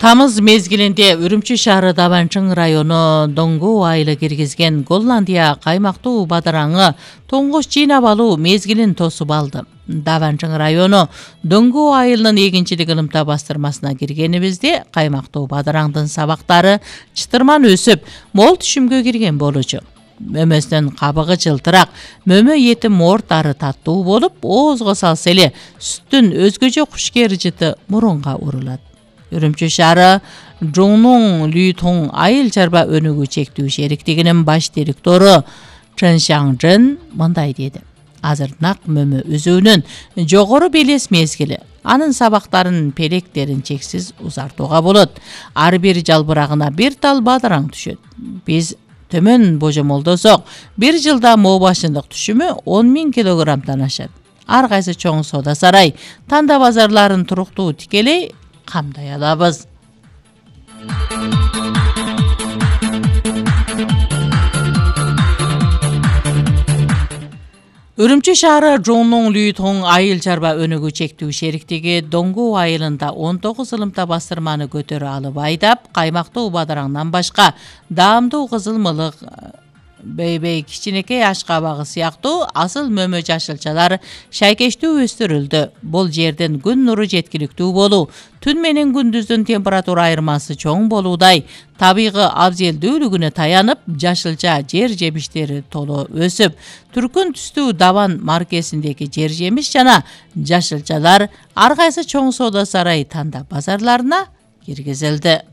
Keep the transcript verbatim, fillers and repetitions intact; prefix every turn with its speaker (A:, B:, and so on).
A: Тамыз мезгилинде Үрүмчү шаары Даванчың району Доңгоо айылы киргизген Голландия каймактуу бадыраңы тоңгош жыйнап алуу мезгилин тосуп алды. Даванчың району Доңгоо айылынын эгинчилик ылымта бастырмасына киргенибизде каймактуу бадыраңдын сабактары чытырман өсүп, мол түшүмгө кирген болчу. Мөмөсүнүн кабыгы жылтырак, мөмө эти мортары таттуу болуп, оозго салса эле сүттүн өзгөчө кушкер жыты мурунга урулат. Үрүмчү шаары Жоңнуң Лүйтоң айыл чарба өнүгүү чектүү шериктигинин баш директору Чын Шаңжын мындай деди. Азыр нак мөмө өзүүнүн жогору белес мезгили. Анын сабактарын, пелектерин чексиз узартууга болот. Ар бир жалбырагына бир тал бадыраң түшөт. Биз төмөн божомолдосок, бир жылда моо башындык түшүмү он миң килограммдан ашат. Ар кайсы чоң соода сарай, танда базарларын туруктуу тикелей камдай алабыз. Үрүмчү шаары Жоңнуң Лүйтоң айыл чарба өнүгүү чектүү шериктиги Доңгоо айылында он тогуз ылымта бастырманы көтөрө алып айдап, каймактуу бадыраңдан башка даамдуу кызыл мылык, бейбей кичинекей аш кабагы сыяктуу асыл мөмө жашылчалар шайкештүү өстүрүлдү. Бул жерден күн нуру жеткиликтүү болуу, түн менен күндүздүн температура айырмасы чоң болуудай, табигы абзелдүүлүгүнө таянып, жашылча жер жемиштери толо өсүп, түркүн түстүү Даван маркесиндеги жер жемиш жана жашылчалар ар кайсы чоң соода сарай, танда базарларына киргизилди.